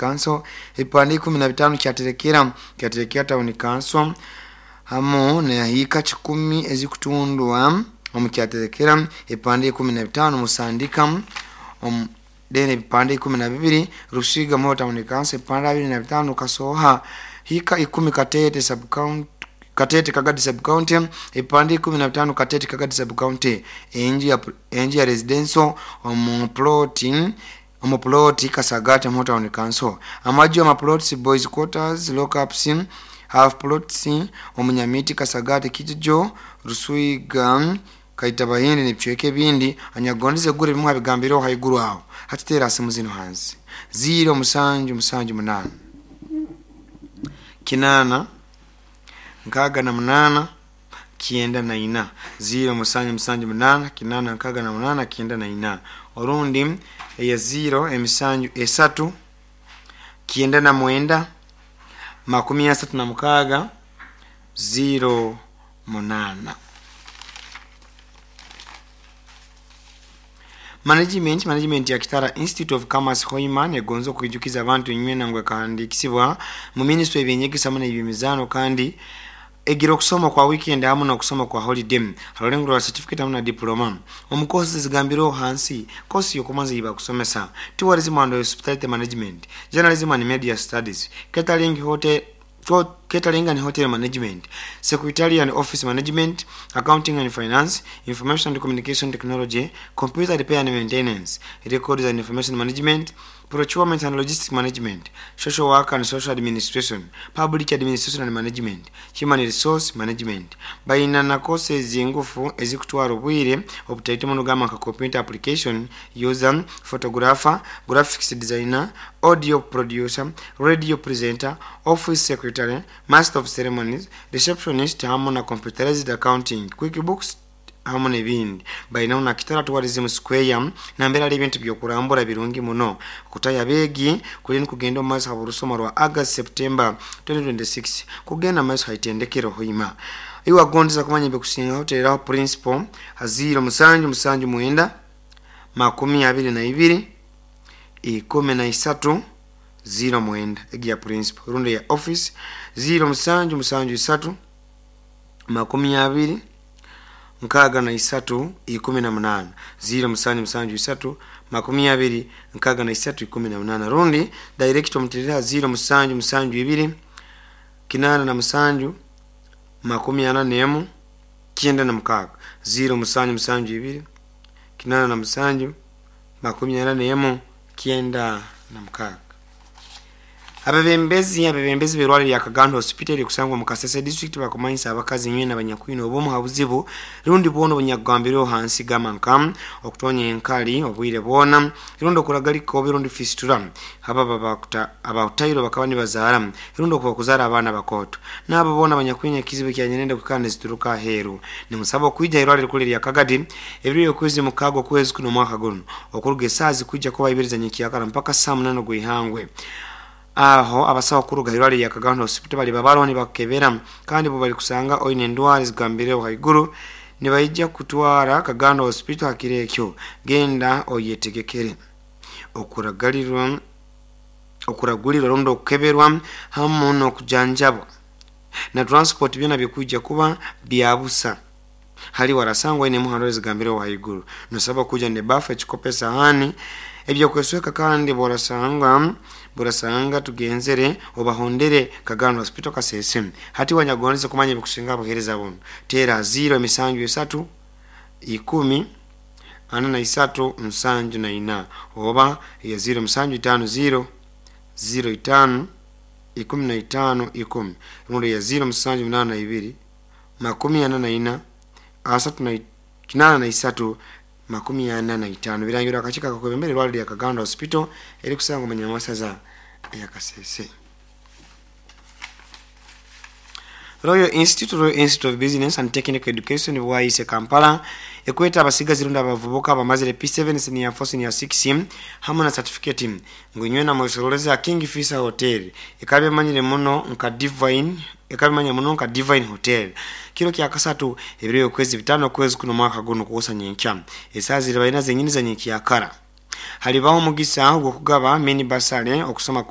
Council, ebipande 15 Kyaterekera, Kyaterekera Town Council, hamu nehiika 10 ezikutundwa omu Kyaterekera, ebipande 15 Musandika, then ebipande 12 Rusiga Muhoro Town Council, ebipande 25 Kasoha, hika 10 Katete sub county, Katete Kagadi sub county, ebipande 15 Katete Kagadi sub county, enju ya residential omu plot Kasagati Muhoro Town Council, amaju ama plots, boys quarters, lockups, half plots omunyamiti, Kasagati, Kijojo, Ruswiga, Kaitabahindi n'ebicweka ebindi. Anyagondeze gura ebimu habigambireho haiguru aho, hatiteera simu zino hansi: 0778 8 68 94, 0778 8 68 94, orundi eya 0 7 3 99 36 08. Management ya Kitara Institute of Commerce Hoima negonza okwijukiza abantu inywena ngu ekahandikisibwa mu ministry ebyenyegesa hamu n'ebyemizaano, kandi egira okusoma kwa weekend hamu n'okusoma kwa holiday harulengo rwa certificate hamu na diploma omu courses ezigambireho hansi. Kosi yokumanza eyibakusomesa: tourism and hospitality management, journalism and media studies, catering, hotel catering and hotel management, secretarial and office management, accounting and finance, information and communication technology, computer repair and maintenance, records and information management, procurement and logistics management, social work and social administration, public administration and management, human resource management. Baina na courses engufu ezikutwara obwire obutaito muno, gamba nka computer application user, photographer, graphics designer, audio producer, radio presenter, office secretary, master of ceremonies, receptionist, hamu na computerized accounting, QuickBooks hamu n'ebindi. Bainaho na Kitara Tourism Square nambere ali ebintu byokurambura birungi muno. Okutaya abeegi kuli nikugenda omu maiso habw'orusoma rwa August September 2026 kugenda maiso haitendekero Hoima. Iwe agondeza kumanya ebikusingaho, tereraho principal ha 0779 22 13 09, egi ya principal, rundi ya office 0773 20 63 18, 0773 20 63 18, rundi director omuterera 0772 87 41 96, 0772 87 41 96. Abebembezi b'irwaliro lya Kagando Hospital erikusangwa omu Kasese district bakumanyisa abakazi nywena abanyakwine obumu ha buzibu rundi bwona obunyakugambirweho hansi, gamba nka okutonya enkali obwire bwona, rundi okuragalika obi, rundi fistula, abahutairwe bakaba nibazaara, rundi okuba kuzaara abaana bakooto, n'abo boona abanyakwine ekizibu ekyanyerenda kwikara nizituruka aheeru, nimusaba okwija irwaliro rikuru erya Kagadi ebiro by'okwezi 6 okwezi kuno omwaka guno, okuruga esaaha zikwija kuba 2 za nyenkyakara mpaka saa 8 gw'ihangwe. Aho abasawo kuruga irwaliro lya Kagando Hospital bali babaroho nibakukebera, kandi bo bali kusanga oine endwara ezigambireho haiguru, nibaija kutwara Kagando Hospital hakiro ekyo. Genda oyetegekere okuragulirwa rundi okukeberwa hamu n'okujanjabwa na transport, byona bikwija kuba byabusa hali warasangwa oine muhando ezigambireho haiguru. Nosaba kuja nebafu, ekikopo, esahani, ebyokwesweka, kandi borasanga tugenzere obahondere Kagando Hospital Kasese. Hati wanyagondeze kumanya ebikusinga abuhereza bunu, tera 0 7 3 10 43 74 oba ya 0 7 5 0 0 5 15 10, rundi ya 0 7 8 2 44 3 83 45. Birangirwa akakiiko akakwebembera irwaliro lya Kagando Hospital erikusangwa omu Nyamasaza eya Kasese. Royal Institute of Business and Technical Education Bwaise Kampala ekweta abasigazi rundi abavubuka abamazire P7, senior 4, senior 6 hamwe na certificate ngu inywena mwesoroleze King Fisa Hotel, ekaba emanyire muno nka Divine, ekaba emanyire muno nka Divine Hotel, kiro kya kasatu ebiro by'okwezi 5 okwezi kuno omwaka guno kuwosa nyenkya esaaha ziri balina zenyini za nyenkyakara. Halibaho omugisa ogw'okugaba mini bursary okusoma.